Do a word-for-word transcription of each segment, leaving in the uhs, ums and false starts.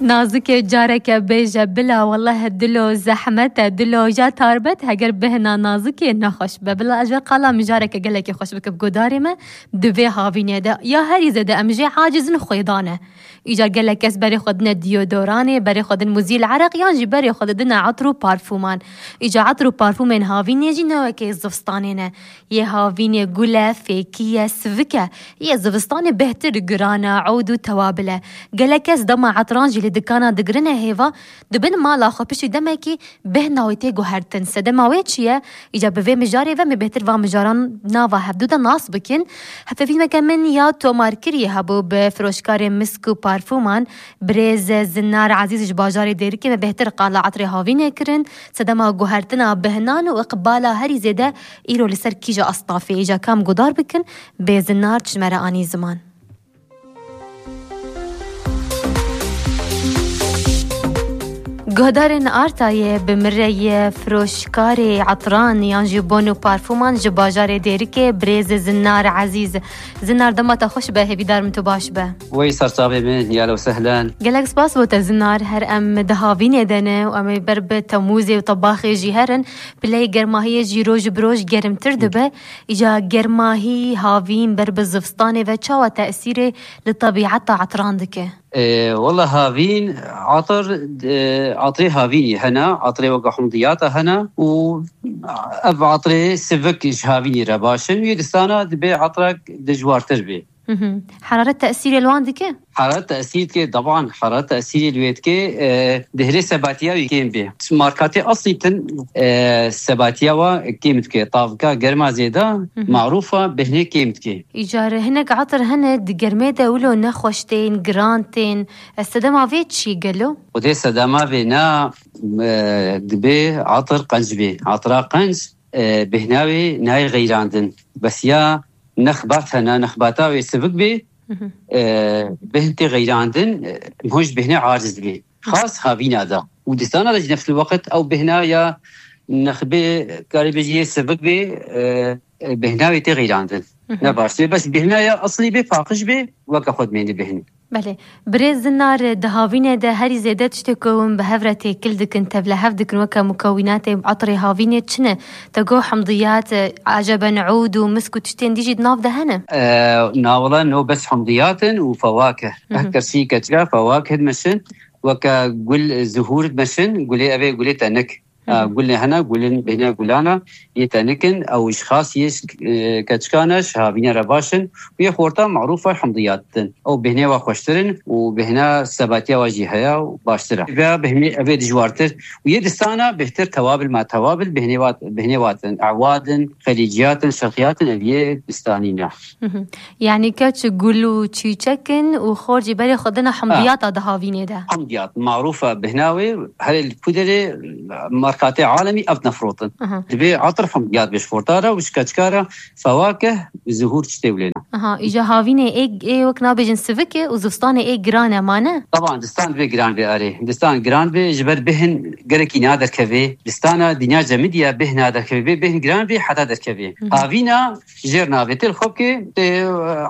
Nazikê careke bêje bila, welleh dilo zehmet e, dilo ya tarbet, heger bihna nazikê nexweş be. Bila ez ji qala mijareke gelekî xweş bikim guhdarê me, di vê havînê de ya herî zêde em jê aciz in xwêdan e. Îcar gelek kes berê xwe dine diodoranê, berê xwe din muzîl ereq yan jî berê xwe didine etir û parfûman. Îcar etir û parfûmên havînê jî ne wekê zivistanê ne. Yê havînê gul e, fêkî ye, sivik e. Yê zivistanê bêhtir giran e, ewd û tewabil e. Gelek kes dema etiran jî li dikana digirine hêva, dibin mala xwe piştî demekî bêhna wê tê guhertin. Sedema wê çi ye? Îca bi vê mijarê ve me bêhtir van mijaran nava hevdû de nas bikin. Hevpeyvîneke min ya tomarkirî hebû bi firoşkarê misk û parfûman, birêz Zinar Ezîz ji bajarê Dêrikê me bêhtir qala etirê havînê kirin. Sedema guhertina bihnan û iqbala herî zêde îro li ser kîja astafê, îca kam guhdar bikin, bê Zinar çi me re anî ziman. Guhdarên Artayê bi min re ye firoşkarê etiran yan jî bon û parfûman ji bajarê Dêrikê, birêz Zinar Ezîz. Zinar, dema te xweş be, hêvîdar im tu baş be. Wey serçavê min, ya lo sehlen. Gelek spas bo te Zinar, her em di havînê de ne û em ê ber bi Temûzê û tebaxê jî herin, pileyê germahiyê jî roj bi roj gerimtir dibe. Îca germahî, havîn ber bi zivistanê ve çawa tesîrê li tebîeta etiran dike? Ee, wala havîn, atir, e, atirê havînî hene, atirê weke humdiyata hene û ev atirê sivik ji havînî re baş in. Wî distana dibê atirek dijwartir bê. Hı hı. Heraret tesîrê li wan dike? Heraret tesîr dike, deban heraret tesîrê li wê dike, e, dihêlê sebatiya wî kêm bê. Markatê eslî tin, e, sebatiya wa kêm dike. Tavika germa zêde, hı hı, marûfa bihnê kêm dike. Îcar hinek etir hene di germê de wilo nexweş tên, giran tên. Ez sedema vê çi gelo? Xwedê sedema vê na, e, dibê etir qenc bê. Etira qenc, e, bihna wê nayê xeyrandin. Bes ya nexbat hene, nexbata wê sivik bê, Hı hı. e, bihn tê xeyrandin, e, hoj bihne aciz bê. Xas havîna da. Û distana da jî nefs el weqt ew bihna ya nexbê karê bêjî yê sivik bê, e, e, bihna wê tê xeyrandin. Hı hı. Ne baş bê. Bes bihna ya eslî bê, paqij bê, weke xwe dimênî bihn. Belê. Birêz Zinar, di havînê de herî zêde tiştê ku hûn bi hev re têkil dikin, tevlihev dikin, weke mukewînatê etirê havînê çi ne? Te got hemdiyat, eceben ûd û misk û tiştên dî jî di nav de hene? E, na wala no bes hemdiyat in û fewakih. Hı hı. Her kesî keçika fewakih dimeşin, weke gul zuhûr dimeşin, gulê ev ê gulê tenik. Hı hı. E, gulê hene, gulin bêhne gulana yê tenik in, ew ji xas yê, e, keçikan e, ji havîne re baş in. Û yê xorta marûfa hemdiyat din. Ew bêhnê wa xweştir in û bêhna sebatiya wa jî heye û baştir e. Vê bêhnê ev ê dijwartir. Û yê distana bêhtir tewabil ma tewabil bêhnê wa, bêhnê wa din. Ewad in, xelîciyat in, şerqiyat in, ev yê distanî ne. Hı hı. Yani keç gul û çîçek in û xor jî berê xwe dina hemdiyata di havînê de. Hemdiyat, marûfa bihna wê, herê li ku derê markatê alemî ev nefrotin. Aha. Dibê etir hemdiyat bê ji xorta re û ji keçika re fewakih, zuhûr çi tê wê lê ne. Aha, îja havînê ê, ê wek nabêjin sivik e û zivistanê ê giran e, ma ne? Taban, distan dibê giran bê erê. Distan giran bê, ji ber bihn gelekî naderkevê. Distana dinya cemidî ya bihn naderkevê. Bê bihn giran bê heta derkevê. Hı hı. Havîna jêr navê tê li xwe bike, tê, e,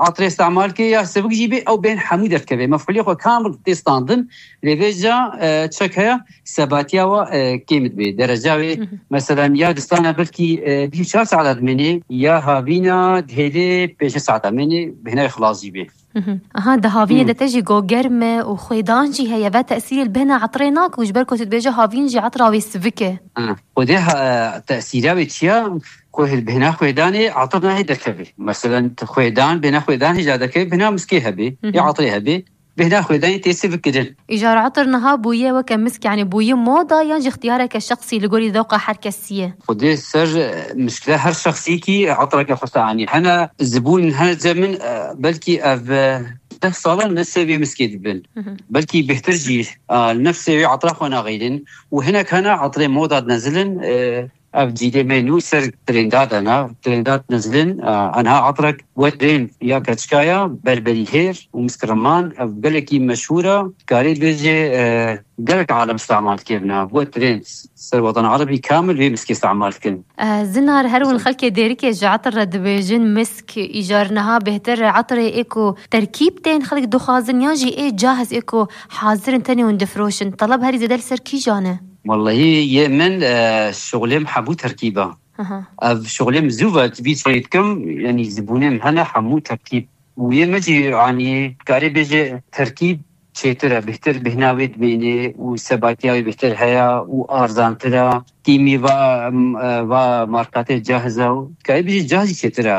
etirê îstemal ke ya sivik jî bê, ew bên hemû derdikeve. Mefûlê xwe kamil tê standin, lê vêca, e, çek heye, sebatiya wa, e, kêm dibê. Dereca wê, Hı hı. Mesela, ya distana belkî, e, bîst û çar saeta dimênê, ya havîna dihêlê pêncî saeta dimênê, bêhna wê xilas jî bê. Hı hı. Aha, di havînê Hmm. de te jî got germ e û xwêdan jî heye. Ve tesîrê li bêhna etirê nake û ji ber ku tu dibêje havîn jî etira wê sivik e. Ha, xwedê ha, tesîra wê çi ya? Ku hil bêhna xwêdanê etir nahê derkevê. Meselen, tu xwêdan, bêhna xwêdan hêja derkevê, bêhna miskê hebê, Hı hı. ya etirê hebê, bêhna xwêdanê tê sivik kirin. Îcar etir niha bûye weke misk, yani bûye moda yan jî ixtiyareke şexsî li gorî dewqa her kesî ye? Xwedê ser, e, mişkile her şexsîkî etireke xwe anî. Hene zibûn, hene cem min, e, belkî ev, e, deh salan ne sê wê miskê dibin. Hı hı. Belkî bêhtir jî, e, nefsê wê etira xwe naxeyrin. Û hinek hene etirê moda dinezilin, e, Ev cîdê me nû ser trênda de ne. Trênda nizlin, e, enha etrek we trên ya keçika ya, berberî hêr û miskiriman, ev gelekî meşhûr e. Karê bêjê, e, gelek alem îstemal dikevin. We trên ser Watan Erebî kamil vê miskê îstemal dikin. E, Zinar, her win xelkê Dêrikê ji etir re dibêjin misk, îcar niha bêhtir etirê ê ku terkîb tên xelk dixwazin, yan jî ê cahz ê ku hazir in tenê hûn difroşin. Teleb herî zêde li ser kîjan e? Wellehî yê min, e, şixulê min hemû terkîb e. Aha. Ev şixulê min zû ve vî çêdikim, yanî zibûnê min hene hemû terkîb. Û yê min jî, yanî karê bêje terkîb çêtir e, bêhtir bêhna wê dimêne û sebatiya wê bêhtir heye û arzantir e. Kîmî va, em, e, va markatê cahz e û karê bêje cahz jî çêtir e.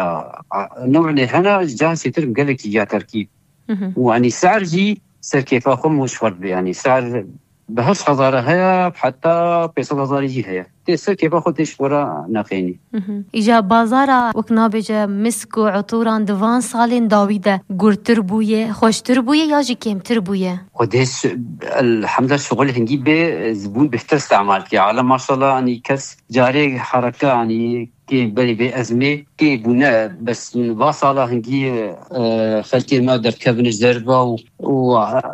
A, new'ê hene cahz çêtir, gelekî ya terkîb. Mhm. Û, yanî, ser jî ser kêfa xwe min ji xwe dibe, yanî, ser bi heşt hezar heye, heta pênc sed hezar jî heye. Tê ser kêfa xwe, tê ji xwe re nexênî. Mhm. Îja bazara, wek nabêje, misk û etûran di van salên dawî de gurtir bûye, xweştir bûye ya jî kêmtir bûye? Xwedê ş-, elhemdulillah, şixul hingî bê, zibûn bêhtir îstemal dike. Alem maşallah, yanî kes carê hereka, yanî kê berî vê ezmê kê bûne, bes va sala hingî, e, xelkê me derdikevin ji derve û, û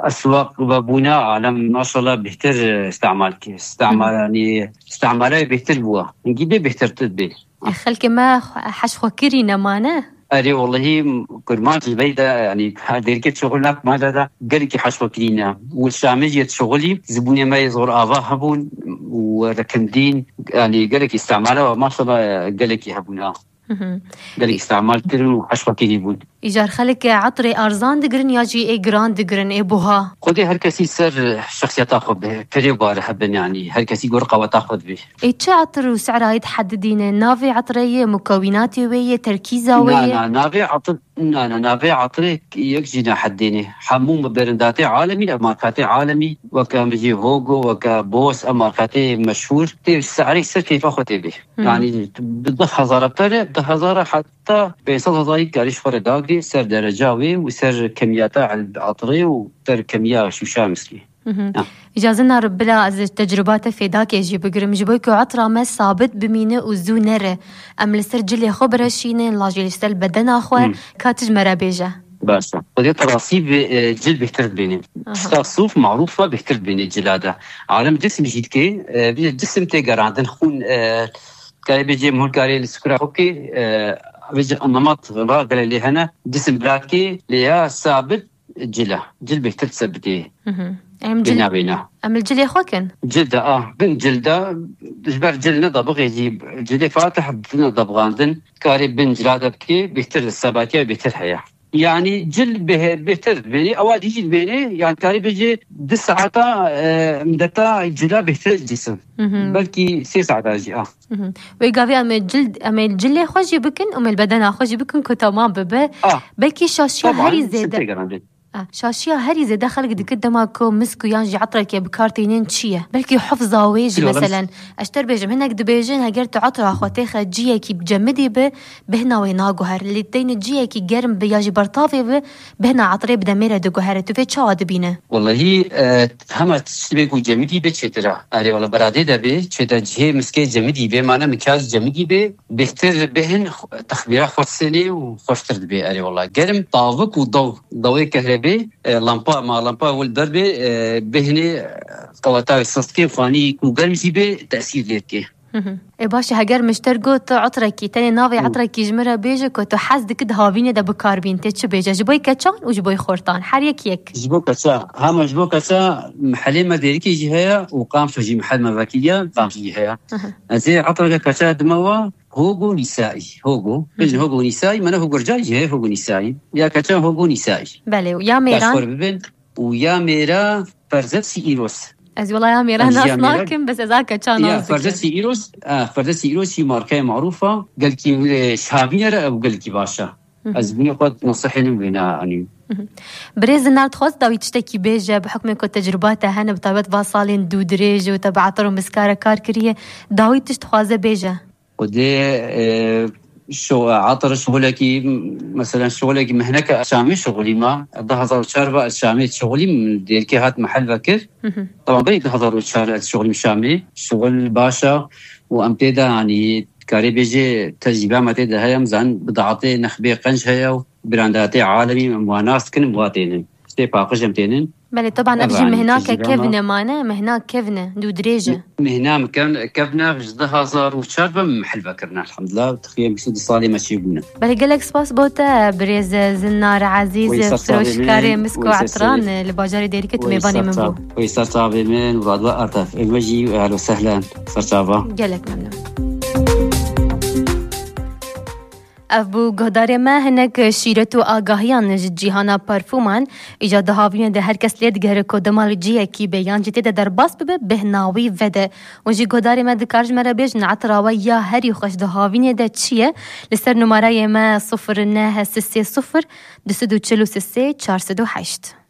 eswaq vebûne, alem maşallah bêhtir îstemal dike. Îstemal, yanî îstemalê bêhtir bûye. Hingî bê bêhtir tu bê. Xelkê me heş xwe kirî nemane? Erê, wellehî, kurmanc li vey de, yanî, her Dêrikê şixul nak male de gelekî heş xwe kirîne. Û li Şamê jî yê şixulî zibûnê me yê zor ava hebûn û rikindîn, yanî, gelekî îstemala we, maşallah, gelekî hebûn, ha. Hı hı. Gelekî îstemal kirin û heş xwe kirî bûn. Îcar xelk etirê arzan digirin ya jî ê giran digirin, ê buha? Xwedê her kesî ser şexsiyeta xwe bi, pirê û bare hebin, yanî, her kesî gor qeweta xwe dibê. Ê çi etir û sera yê dihedidîne? Navê etirê yê, mukewînatê wê yê, terkîza wê Na, yê? na, navê etir, na, na, navê etirê yek jî nehedidîne. Hemû birandatê alemî, ev markatê alemî, weke em bijî Hogo, weke Boss, ev markatê meşhûr, tê serê ser keyfa xwe tê bê. Hı. Yanî bi du hezar pere, du hezar heta pênc sed hezarî karî ji xwe re dagirê ser dereca wê û ser kemiyata etirê û ser kemiya şûşa miskê. Mhm. Ha. Îca Zinar, bila ez ji tecrûba te fêdakê jî bigirim. Ji bo ku etira me sabit bimîne û zû nere, em li ser cilê xwe bireşînin, lajê li ser bedena xwe, Hmm. ka tu ji me re bêje. Baş e. Xwedê te rastî bi, e, cil bêhtir dibêne. Aha. Tişta sûf marûf e, bêhtir dibêne cila de. Alem cisim jî dike, e, bê cisim tê gerandin, xûn, e, karê bêjê, mûl karê li sikura xwe bike, e, bêjê, nemat ragele lê hene, cisim bila dike, lê ya sabit cil e. Cil bêhtir sebitê. Hı hı. Em cil, Bêna, bêna. em li cilê xwe kin? Cil de, ah, bin cil de, ji ber cil ne dabixê jî, cilê fatih dine dabixandin, karê bin cila de bike, bêhtir sebatiya bêhtir heye. Yanî cil bê-, bêhtir dibêne, ewa dî jî dibêne, yanî karê bêjê du saeta, e, mdeta cila bêhtir cisim. Hı hı. Belkî sê saeta jî, ah. Mhm. Wê gavê em ê cil, em ê cilê xwe jî bikin, em ê li bedena xwe jî bikin ku temam bibe. Ah. Belkî şaşiya Taban, herî zêde. Tê gerandin. Ah, şaşiya herî zêde xelk dike dema ku misk û yan jî etrekê bi kar tînin çi ye? Belkî hifza wê jî, Bilmiyorum. meselen. Ez ji te re bêjim, hinek dibêjin, heger tu etra xwe têxe ciyekî cemidî bi, bihna wê naguher. Lê teyne ciyekî germ bi ya jî bertavê bi, bihna etirê bi demê re diguhere. Tu vê çawa dibîne? Wellehî, e, hema tiştê ku cemidî bê çêtir e. Erê wele beradê de bê, çête cihê miskê cemidî bê, mane mikyaj cemidî bê, bêhtir bêhin, texmîra xwesinê û xweştir dibê. Erê wele germ, tavik û daw, dawê kehrebê, e, lampa, ma lampa wil ber bê, e, bêhinê, e, qeweta wê sist kê, xwanî ku germ jî bê, tesîr lê dikê. Hı hı. Ê, baş e, heger min ji te re got, tu etrekî, tenê navê Hı. etrekî ji min re bêje ku tu hez dikî di havînê de bi kar bîn, tê çi bêje? Ji bo yê keçan û ji bo yê xortan. Her yek yek. Ji bo keça, hema ji bo keça, mehelê me Dêrikê jî heye û Qamşo jî mehel me vekiriye, Qamşo jî heye. Hı hı. Ez ê etreke keça dime we, Hogo Nîsaî. Hogo. Hı hı. Bêjin Hogo Nîsaî, mene Hogo Ricayî jî heye, Hogo Nîsaî. Ya keça Hogo Nîsaî. Belê, ya mêran? Xwe bibin. Û ya mêra Ferzet Sî Îros. Ez wela ya mêra Ez nas ya mêra nakim, bes ez a keça Ya, nas dikim. Ferzet Sî Îros, a, Ferzet Sî Îros jî markaya marûf e, gelkî, e, şavîne re ew gelkî baş e. Hı hı. Ez bûnê xwe nasihê min wêna anî. Hı hı. Birêz Zinar, dixwaz dawî tiştekî bêje, bi hukmê ku tecrûba te hene, bi taybet va salên dû dirêj û te bi etir û miska re kar kiriye, dawî tişt dixwaze bêje? Xwedê, e, şo-, etir şixulekî, mesela şixulekî mihneke Şamê şixulî ma. Du hezar û çar ve Şamê şixulî, Dêrikê hat mehel vekir. Hı hı. Tamam, berî du hezar û çar ez şixulîm Şamê. Şixul baş e. û em tê de, yanî, karê bêjê tecrîbe me tê de heye, em zanin bidatê nexbê qenc heye û brandatê alemî em wa nas dikin, em wa tênin. Tê paqij em tênin. Belê, teban ev jî Evan, mihna ke tecrübe kevne ma- mane, mihna kevne, dû dirêj e. Mihna min kevn-, kevne ji du hazar û çar ve min mihil vekirine, elhamdulillah. Teqrîben bîst û du salê me çêbûne. Belê, gelek spas bo te, birêz Zinar Ezîz, Wê ser çavê firoşkarê min, misk û wê ser etran çavê- li bajarê Dêrikê tu wê mêvanê ser min çav-, bû. Wê ser çavê min, Murat ve Artef. Ê me jî, ehlo sehlen, ser çava. Gelek memnun. Ev bû guhdarê me hinek şîret û agahiyan ji cîhana parfûman. Îca di havînê de her kes lê digere ku dema li cihekî be yan jî tê de derbas bibe, bêhna wî vede. Hûn jî guhdarê me dikar ji me re bêjin, etira we ya herî xweş di havînê de çi ye? Li ser numarayê me sifir neh sê sê sifir du sed û çil û sê çar sed û heşt.